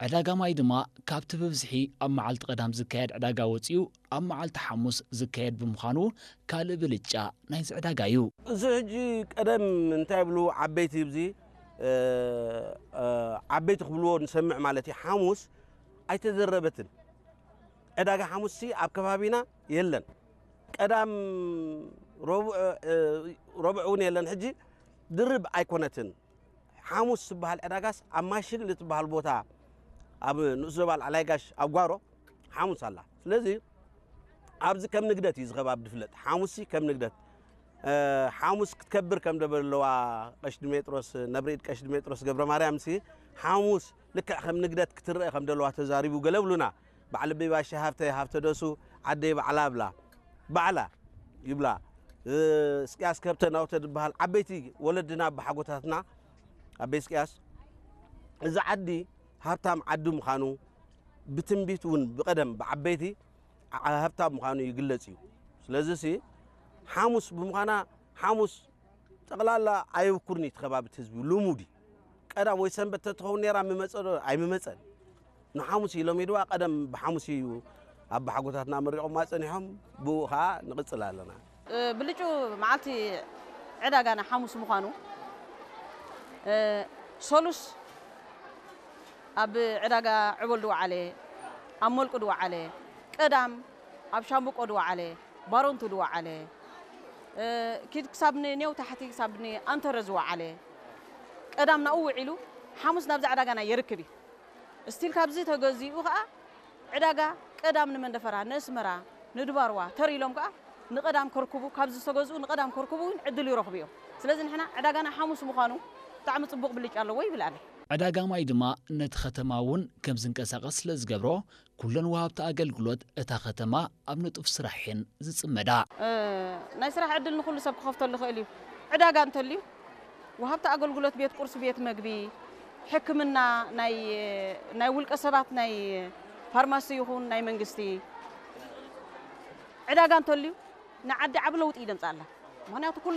ዕዳጋ ማይ ድማ ካብቲ ብብዝሒ ኣብ መዓልቲ ቀዳም ዝካየድ ዕዳጋ ወጺኡ ኣብ መዓልቲ ሓሙስ ዝካየድ ብምዃኑ ካልእ ብልጫ ናይዚ ዕዳጋ እዩ። እዚ ሕጂ ቀደም እንታይ ይብሉ ዓበይቲ፣ ኣብዚ ዓበይቲ ክብልዎ ንሰምዕ ማለት እዩ። ሓሙስ ኣይተዘረበትን። ዕዳጋ ሓሙስሲ ኣብ ከባቢና የለን። ቀዳም ረቡዕ እውን የለን። ሕጂ ድርብ ኣይኮነትን። ሓሙስ ዝበሃል ዕዳጋስ ኣብ ማሽል እትበሃል ቦታ፣ ኣብ ንኡስ ዞባ ላዕላይ ጋሽ ኣብ ጓሮ ሓሙስ ኣላ። ስለዚ ኣብዚ ከም ንግደት እዩ ዝኸባብ ዝፍለጥ። ሓሙስሲ ከም ንግደት ሓሙስ ክትከብር ከም ደበለዋ ቀሽ ድሜጥሮስ ነብርኢድ ቀሽ ድሜጥሮስ ገብረ ማርያም ሲ ሓሙስ ልክዕ ከም ንግደት ክትረአ ከም ደለዋ ተዛሪቡ ገለ ብሉና። በዓል ኣበይ ባሻ ሃብተ ሃብተ ደሱ ዓደይ ባዕላ ብላ ባዕላ ይብላ። እስቅያስ ከብተ ናውተ ዝበሃል ዓበይቲ ወለድና ኣባሓጎታትና ኣበይ እስቅያስ እዚ ዓዲ ሃብታም ዓዲ ምዃኑ ብትንቢት እውን ብቐደም ብዓበይቲ ሃብታም ምዃኑ ይግለጽ እዩ። ስለዚ ሲ ሓሙስ ብምዃና ሓሙስ ጠቕላላ ኣየብኩርን እዩ እቲ ከባቢ እቲ ህዝቢ ልሙድ እዩ። ቀዳም ወይ ሰንበት ተትኸውን ነይራ ምመጸ ዶ ኣይምመጸን። ንሓሙስ እዩ ሎሚድዋ ቀደም ብሓሙስ እዩ ኣባሓጎታትና መሪቖማ ጸኒሖም ብኡ ኸዓ ንቕጽል ኣለና። ብልጩ መዓልቲ ዕዳጋና ሓሙስ ምዃኑ ሰሉስ ኣብ ዕዳጋ ዕቦል ድወዓለ ኣብ መልቁ ድወዓለ ቀዳም ኣብ ሻምብቆ ድወዓለ ባሮንቱ ድወዓለ ኪድ ክሳብ ንኔው ታሕቲ ክሳብ ንኣንተረ ዝወዓለ ቀዳም ናብኡ ውዒሉ ሓሙስ ናብዛ ዕዳጋና የርክብ እዩ። ስቲል ካብዚ ተገዚኡ ከዓ ዕዳጋ ቀዳም ንመንደፈራ፣ ንእስመራ፣ ንድባርዋ ተር ኢሎም ከዓ ንቐዳም ከርክቡ፣ ካብዚ ዝተገዝኡ ንቐዳም ከርክቡ እውን ዕድል ይረኽቡ እዮም። ስለዚ ንሕና ዕዳጋና ሓሙስ ምዃኑ ብጣዕሚ ፅቡቕ ብልጫ ኣለዎ ይብል ኣነ። ዕዳጋ ማይ ድማ ነቲ ከተማ እውን ከም ዝንቀሳቐስ ስለ ዝገብሮ ኩለን ወሃብቲ ኣገልግሎት እታ ከተማ ኣብ ንጡፍ ስራሕ እየን ዝፅመዳ። ናይ ስራሕ ዕድል ንኹሉ ሰብ ክኸፍተሉ ይኽእል እዩ። ዕዳጋ እንተልዩ ወሃብቲ ኣገልግሎት ቤት ቁርሲ፣ ቤት መግቢ፣ ሕክምና፣ ናይ ናይ ውልቀ ሰባት ናይ ፋርማሲ ይኹን ናይ መንግስቲ ዕዳጋ እንተልዩ ንዓዲ ዓቢ ለውጢ እዩ ደምፅኣላ። ምክንያቱ